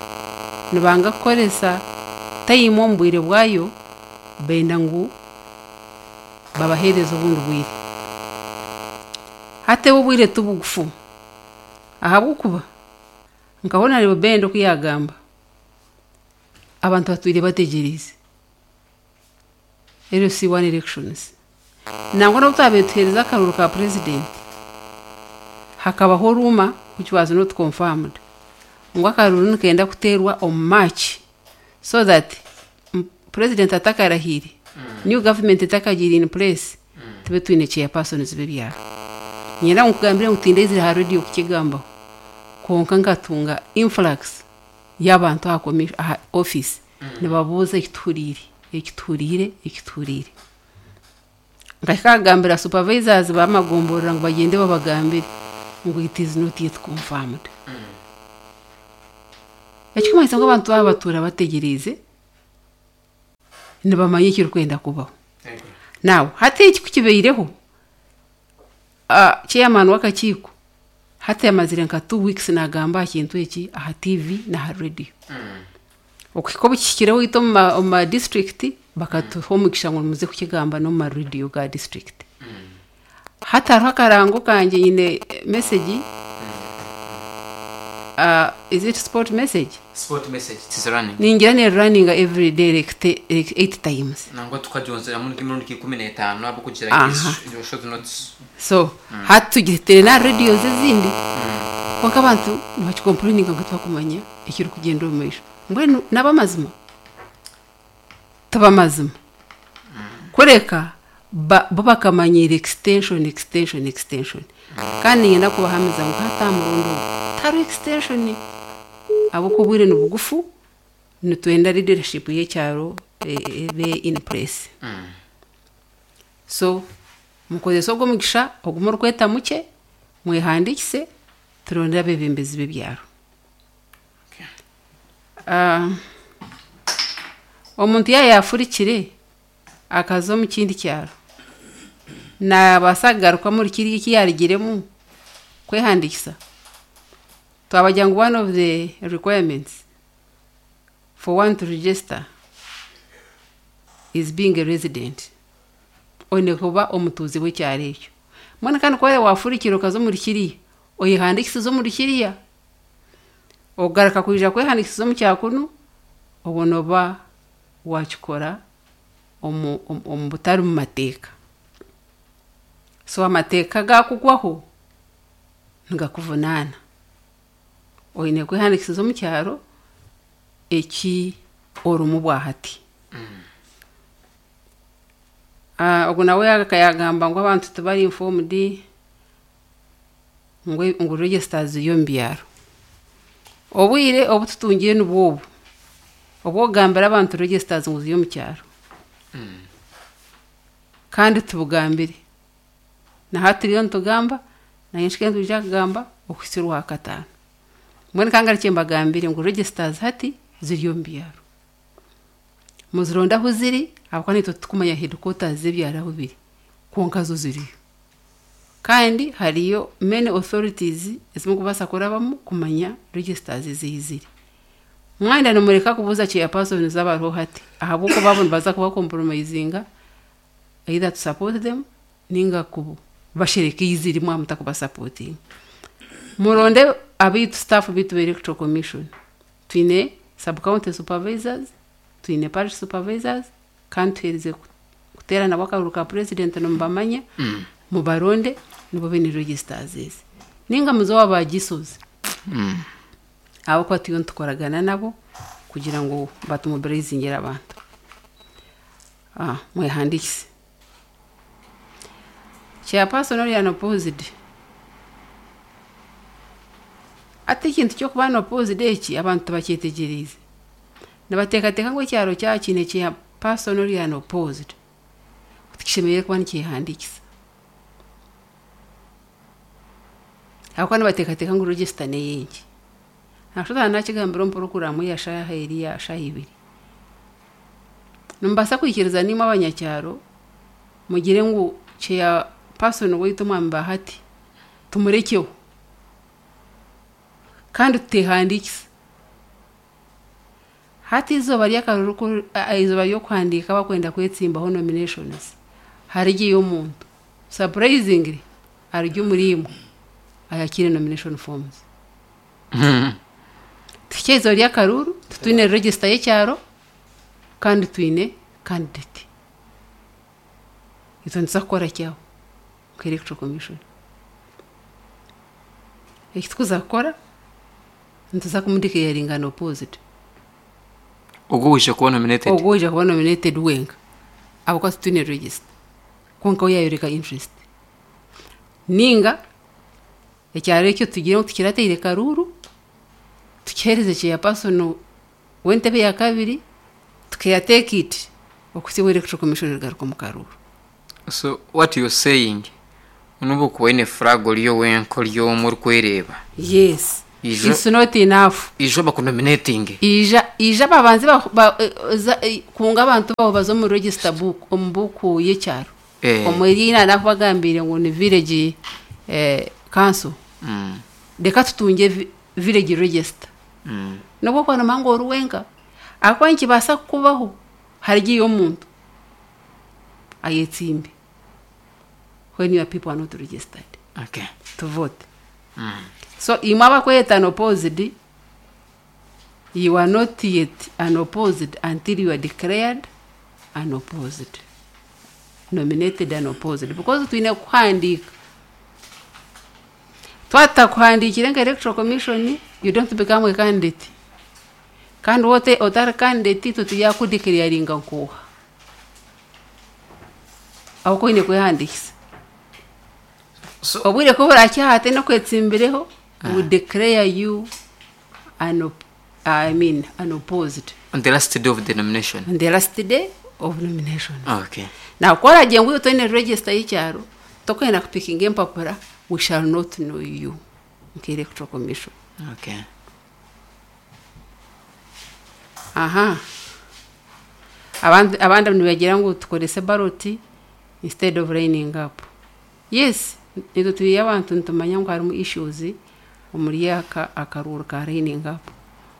nibanga kukoresa time omu bwire bwayo, benda ngu babaheereze obundi bwire. Hati obwire tibugufu, ahabw'okuba nka Honorable Benda oku yagamba, abantu batwire bategyereize L C one elections. Nangwa n'obu twabaire tuheereza akaruru ka president, hakabaho rumour which was not confirmed ngu akaruru nikenda kuteerwa omu March so that m- president atakarahiire, new government etakagiire in place, tube twine chairpersons b'ebyaro. Nyenda ngu nkugambire ngu tindeizire aha radio kukigambaho, konka nkatunga influx y'abantu aha commi- aha office nibabuuza ekituhuriire, ekituhuriire, ekituhuriire. Nkahika supervisors bamagomborera ngu bagende babagambire ngu it is not yet confirmed. Ekikumanyisa ngu abantu baba batuura bategyereize nibamanya ekirikwenda kubaho. Now hati eki kukibaireho, uh, chairman w'akakiiko hati yamazire nka two weeks nagamba aha kintu eki aha T V n'aha radio. Okuhika obu kihikireho itwe omu ma- omu ma district, bakatuha omugisha ngu nimuze kukigamba n'omu ma radio ga district. Hati hariho akarango kangye, nyine message, uh, is it spot message? Spot message, it is running. Ningira ne running every day like, te- like eight times. Nangwa tukagyonzeramu nk'emirundi ikumi n'etaano ahabw'okugira Aha. ngu short notes. So hati tugitere na radios ezindi, konka abantu nibakicomplaininga ngu twakumanya ekiri kugenda omu maisho. Mbwenu n'abamazima tibamazima kureka ba- bo bakamanyira extension, extension, extension. Kandi ninyenda kubahamiza ngu hati aha murundi ogu tihariho extension, ahabw'okuba obwire ni bugufu, nitwenda leadership y'ekyaro e- ebe in place. So mukozese ogwo omugisha ogume orikweta mukye, mwehandikise, turonde abebembezi b'ebyaro. Ah, omuntu yaaba yafurikire akaza omu kindi kyaro, nabaasa kugaruka muri kiriya eki yarugiremu kwehandikisa? Twabagira ngu one of the requirements for one to register is being a resident, oine kuba omutuuzi w'ekyaro ekyo. Mbwenu kandi kuba wafurikire okaza omuri kiriya, oyehandikisize omuri kiriya, ogaruka kwija kwehandikisiza omu kyakunu, obwo noba wakikora omu, omu, omu butari mu mateeka. So amateeka gakugwaho nigakuvunaana. Oine kwehandikisiza omu kyaro eki orimu bwahati. Ah, ogu nawe yagamba ngu abantu tibari informed ngu ngu registers ziri omu byaro. Obwire obu tutungire nibwo obu obwokugambira abantu registers ngu ziri omu kyaro, kandi tubugambire na hati turiyo nitugamba, naye nshike nitwija kugamba okuhitsya orwa kataano. Mbwenu kangarukye mbagambire ngu registers hati ziri omu byaro, muzironde ahu ziri, ahabw'okuba naitwe titukumanya headquarters z'ebyaro ahu biri, kwonka zo ziriyo. Kandi hariyo many authorities ezimurikubaasa kurabamu kumanya registers ezihi ziri. Mwenda nimureka kubuuza chairpersons abariho hati, ahabw'okuba abo nibaza kuba compromisinga either to support them ninga ku bashereka ei ziri mwaba mutakubasupportinga. Muronde abaitu, staff bitu ba Electoral Commission. Twine sub county supervisors, twine parish supervisors, kandi tuheerize kuteera nabo akaruru ka president, nimubamanya, mubaronde, nibo baine registers ezi. Ninga muze owa bagisozi, ahabw'okuba turiyo nitukoragana nabo kugira ngu batumobilizingire abantu. Ah, mwehandikise. Chairperson ori unopposed, ati ekintu ky'okuba unopposed eki abantu tibakyetegyereize. Nibateekateeka ngu ekyaro kyaba kiine chairperson ori unopposed, tikishemereire kuba nikyehandikisa, ahabw'okuba nibateekateeka ngu register n'ey'enki. Nakashusha nakigambira omu puroguraamu ya shaaha eri ya shaaha ibiri. Nimubaasa kwikiriza nimwe abanyakyaro mugire ngu chairperson waitu omwami Bahati tumurekyeho kandi tutehandiikisa? Hati izooba ry'akaruru, ku- a- izooba ry'okuhandiika abakwenda kwetsimbaho, nominations, harigiyo omuntu surprisingly ari omuri imwe ayakire nomination forms. Tuhike izooba ry'akaruru titwine register y'ekyaro kandi twine candidate. Itwe nituza kukora kyaho nka Electoral Commission? Eki tukuza kukora, nituza kumudeclaringa unopposed. Ogwo wije kuba nominated? Ogwo oija kuba nominated wenka, ahabw'okuba titwine register, konka we yayoreka interest. Ninga ekyaro ekyo tugire ngu tikirateire karuru, tukihereze chairperson w'entebe ya kabiri, tukeya take it okuhitsya obu Electoral Commission erigaruka omu karuru. So what you're saying, nobu okuba oine flag ori owenka ori omwe orikwereeba, Yes. Ija- It's not enough. Ija bakunominating. Ija ija babanze ba, ba, eh, za- eh, kunga abantu babo baza omu register book, omu buku y'ekyaro, Eh. omu eriina nakubagambire ngu ni village eh, council. Mm. Reka tutunge vi- village register. Mm. Nobwo kwanoma ngu ori wenka, ahakuba nikibaasa kukubaho harigiyo omuntu ayetsimbe when your people are not registered Okay. to vote. Mm. So imwe abakweta unopposed, you are not yet unopposed until you are declared unopposed, nominated unopposed, because twine kuhandiika. Twatakuhandiikire nka Electoral Commission, you don't become a candidate. Kandi wote otari candidate, tutuyakudeclaringa nkuha aho koine kwehandikisa. So obwire ko burakyahate nokwetsimbireho, we declare you unop I mean unopposed on the last day of the nomination. On the last day of nomination. Okay. Now koragiye ngu toine register y'ikyaro, tokwenda kupikinga empapura, we shall not know you nka Electoral Commission. Okay. Aha, abandi abandi nibagira ngu tukorese ballot instead of lining up. Yes, nitwe turi abantu nitumanya ngu harimu issues omuri aka akaruru ka lining up.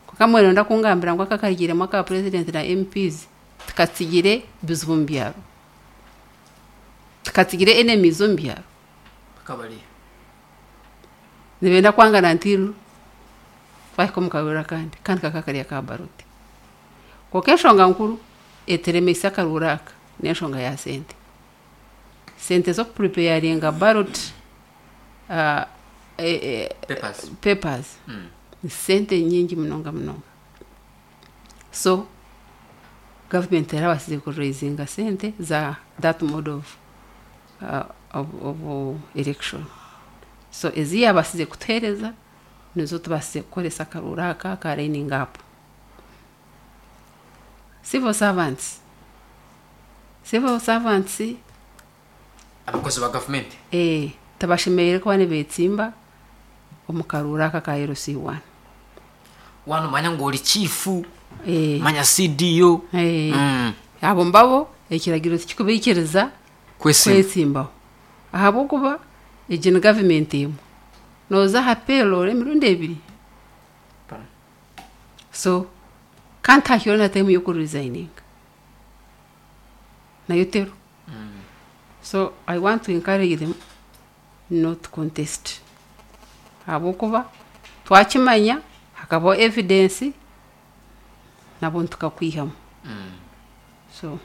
Kuka mwene ndakungambira ngu aka karigiremu aka president na M Ps tukatsigire bizibu mu byaro, tukatsigire enemies omu byaro. Kabali. Nibenda kwangana ntiru twahika omu karura kandi kandi kaka kariya ka ballot. Konka enshonga nkuru eteremesa akarura aka n'enshonga ya sente, sente z'okupreparinga ballot uh, e, e, Papers. Papers. Mm. Ni sente nyingi munonga munonga. So government erabasize kuraisinga sente za that mode of, uh, of, of election. So ezi yabasize kutuhereza nizo tubasize kukoresa akarura aka ka lining up. Civil servants, civil servants. Abakozi ba government. eh tabashemereire kuba nibetsimba omu karura aka ka L C one. Wano manya ngu ori chief, eh manya C D O. eh Mm. Abo mbabo ekiragiro tikikubaikiriza Kwesimba. kwetsimbaho, ahabwokuba egi ni gavumenti emwe, nooza aha payroll emirundi ebiri. So kandi hakiho na time yokuresigninga nayo tero. So I want to encourage them not to contest, ahabwokuba twakimanya hakabaho evidence nabo ntukakwihamu. So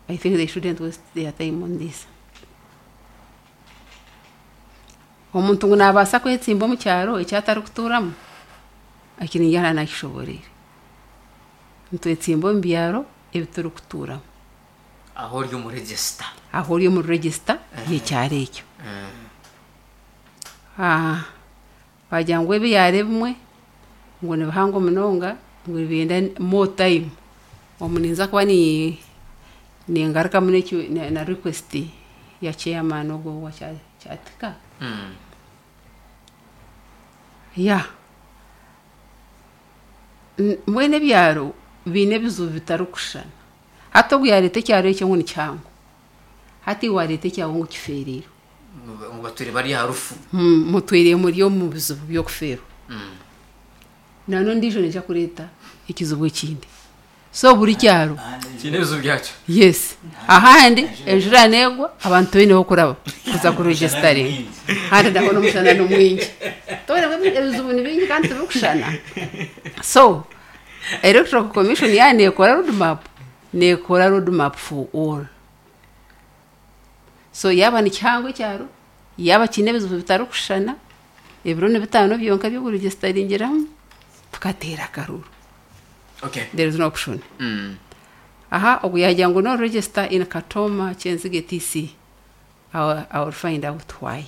I think they shouldn't waste their time on this. Omuntu ngu nabaasa kwetsimba omu kyaro ekyatarikuturamu, ekiringyana nakishoboreire. Nitwetsimba omu byaro ebi turikuturamu. Aho ori omu register. Aho ori omu register y'ekyaro ekyo. Ah, bagira ngu ebyaro ebimwe ngu ni bihango munonga, ngu nibenda more time. Omu ninza kuba ni ningarukamu n'ekyo na, na request ya chairman ogwo wa Kya- Kyatika. Mm. Ya, N- mbwenu ebyaro biine ebizibu bitarikushushana. Hati ogu yareeta ekyaro ekyo ngu ni kihango, hati iwe wareeta ekyawe ngu kifeereirwe. Ngu batwire bari aha rufu. Hmm, mutwire muri omu bizibu by'okufeerwa. Mm. Nana ondiijo neija kureeta ekizibu ekindi. So buri kyaro Kiine ebizibu byakyo. Yes, ahandi enjura neegwa, abantu baineho kuraba kuza kuregisteringa, handi naho n'omushana ni mwingi. Tobona ebizibu ni bingi kandi tibikushana. So Electoral Commission ya nekora roadmap, nekora roadmap for all. So yaba ni kihango ekyaro, yaba kiine ebizibu bitarikushushana, ebiro ni bitaano byonka by'okuregisteringyeramu tukateera akaruru. Okay. There is no option. Mm. Aha, ogu yagira ngu no register in Katoma Kyenzige T C. I will, I will find out why,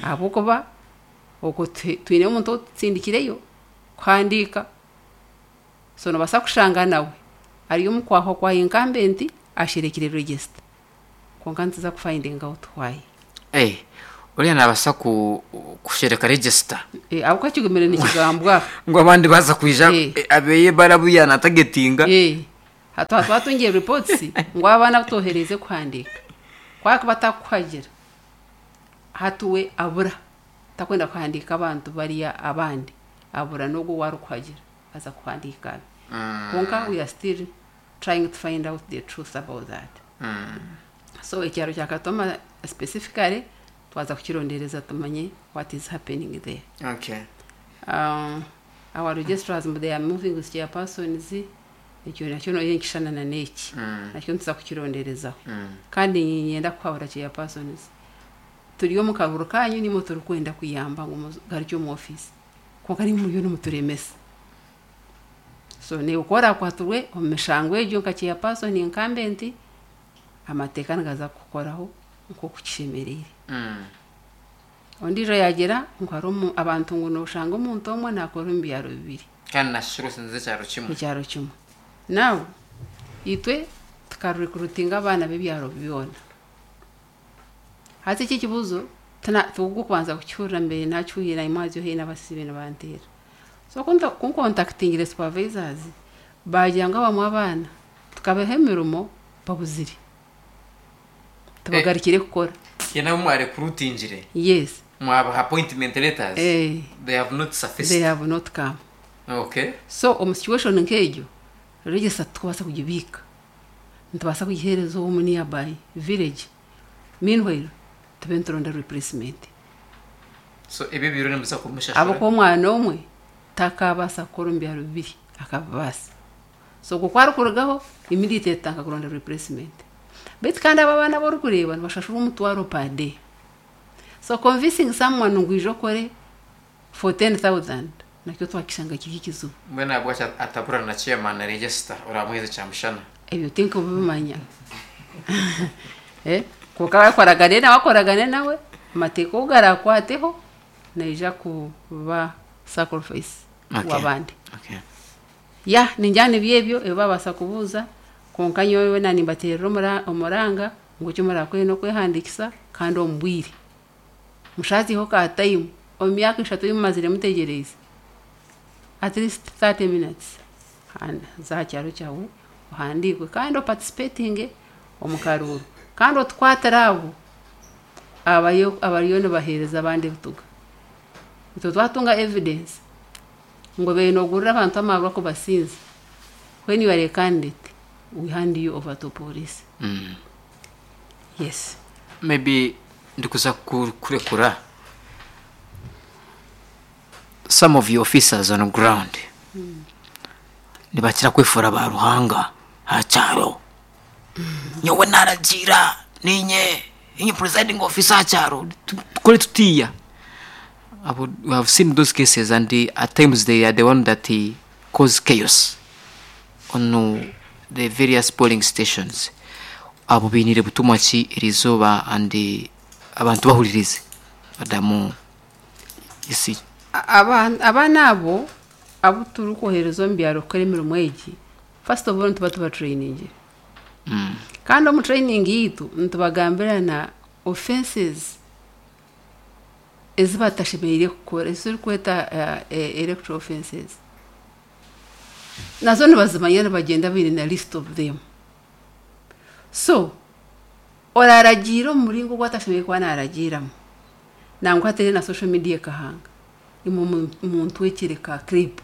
ahabwokuba okwo twi- twine omuntu otutsindikireyo kuhandiika. So nobaasa kushanga nawe ari omu kwahwa kwa incumbent asherekire register. Konka nituza kufinding out why. Eh, uriya nabasa ku kushereka register. Eh, ahabw'okuba kigumire nikigambwa. Ngu abandi baza kwija Eh. eh, abeye barabuya natagetinga. Eh, hatu twatungiye reports ngu abaana butohereze kuhandika kwaka batakuhagira hatuwe abura takwenda kuhandika abantu bariya abandi abura n'ogwo warikuhagira aza kuhandika abe. Konka we are still trying to find out the truth about that. So ekyaro kya Katoma specifically twaza kukirondereza tumanye what is happening there. Okay. Um, our registrars they are moving with chairpersons, ekyo nakyo noyo nkishanana n'eki nakyo nituza kukironderezaho. Kandi niinyenda kuhabura chairpersons, turi omu karuru kanyu nimwe turikwenda kuyamba ngu mugarukye omu office, konka nimwe muriyo nimuturemesa. So niiwe ku orakwatirwe omu mishango egyo nka chairperson incumbent, amateeka nigaza kukukoraho nk'oku kishemereire. Ondiijo yagira ngu hariho abantu ngu noshanga omuntu omwe nakora omu byaro bibiri. Kandi nashishura osinze ekyaro kimwe. Ekyaro kimwe. Now itwe tukarecruitinga abaana b'ebyaro byona. Hati eki ekibuzo tugukubanza kukihurira mbere nakihuhira imwazyo haihi n'abasibe nibanteera. So kunkontakitingire supervisors bagira ngu abamwe abaana tukabaha emirimo babuzire. Tubagarukire kukora. Ye nabo mwarecruitingire? Yes. Mwabaha appointment letters? Eh. They have not surfaced. They have not come. Okay. So omu situation nk'egyo register tukubaasa kugibiika. Nitubaasa kugiheereza omu nearby village. Meanwhile tube nituronda replacement. So ebyo biro nimuza kumushashura? Ahabw'okuba omwana omwe takabaasa kukora omu byaro bibiri akabibaasa. So okwo kwarikurugaho immediately tutandika kuronda replacement. Beitu kandi abo abaana abu orikureeba nibashashura omutwaro per day. So convincing someone ngu ija okore for ten thousand nakyo twakishanga kiri ekizibu. Mbwenu ahabwaki atabura na chairman na register oramuheeza kyamushana? Ebyo tinkubimanya. Eh, konka bakoragane nawe akoragane nawe amateeka ogu garakwateho naija kuba sacrifice Okay. w'abandi. Okay. Ya ningira nibyo ebyo ebi babaasa kubuuza, konka nyowe na nimbateerera omuranga ngu eki murakore n'okwehandiikisa kandi omu bwire. Mushaziho ka time omu myaka eshatu ei mumazire mutegyereize at least thirty minutes za aha kyaro kyawe ohandiikwe kandi oparticipatinge omu karuuru kandi otukwatire abo abariyo abariyo nibaheereza abandi ebituga. Itwe twatunga evidence ngu obaire noogurira abantu amaarwa kubasinza, when you are a candidate we hand you over to police. Mm. Yes. Maybe ndikuza kurekura some of your officers on ground mm. nibakira kwefura ba ruhanga ha kyaro. Nyowe naragira ninye inye presiding officer ha kyaro tukore tutiya. Abo, we have seen those cases and the, at times they are the one that uh, cause chaos on uh, the various polling stations. Abo binire butumwa ki erizoba and uh, abantu bahuririze badamu isi. Abaana abo abo turikohereza omu byaro kukora emirimo egi, first of all nituba tuba training. Mm. Kandi omu training yitu nitubagambira na offenses ezi batashemereire kukora, ezi turikweta uh, electoral offenses. Nazo nibazimanya nibagenda baine na list of them. So oraragiira omu muringo ogu atashemereire kuba naaragiiramu, nangwa hatere na social media ekahanga imwe muntu wekire ka clip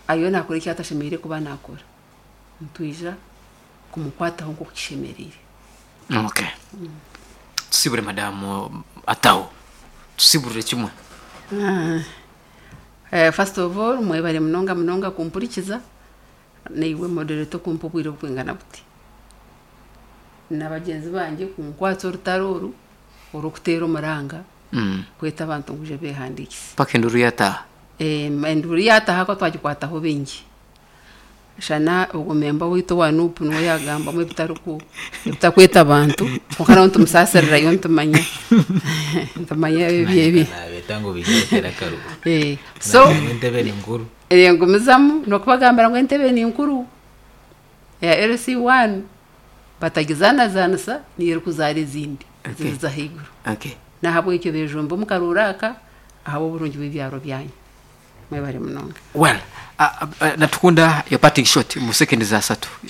ayo nakora eki atashemereire kuba nakora, nitwija kumukwataho nk'oku kishemereire. Okay. Mm. Tusibure madamu ataho tusiburire kimwe. Uh, uh, first of all mwebare munonga munonga kumpurikiza naiwe moderator kumpa obwire obukwingana buti n'abagyenzi bangye kunkwatsa orutaro oru orw'okuteera omuranga Mm. kweta abantu ngu ije beehandiikise. Paka enduru yataha. Eh, enduru yataha ko twagikwataho bingi. Shana ogwo memba waitu owa N U P niwe yagambamu ebitariku ebitakweta abantu, konka nawe nitumusaasirirayo ntumanya ntumanya ebi ebi. Nabeta ngu bijetera akaruru. Eh, so entebe ni nkuru. Ngumizamu n'okubagambira ngu entebe ni nkuru ya L C one. Batagizanazanisa niyo erikuzaara ezindi Okay. ziriza ahaiguru. Okay. Nahabwekyo bejumba omu karuuru aka ahabw'oburungi bw'ebyaro byanyu. Mwebare munonga. Well, uh, uh, natukunda your parting shot mu seconds asatu.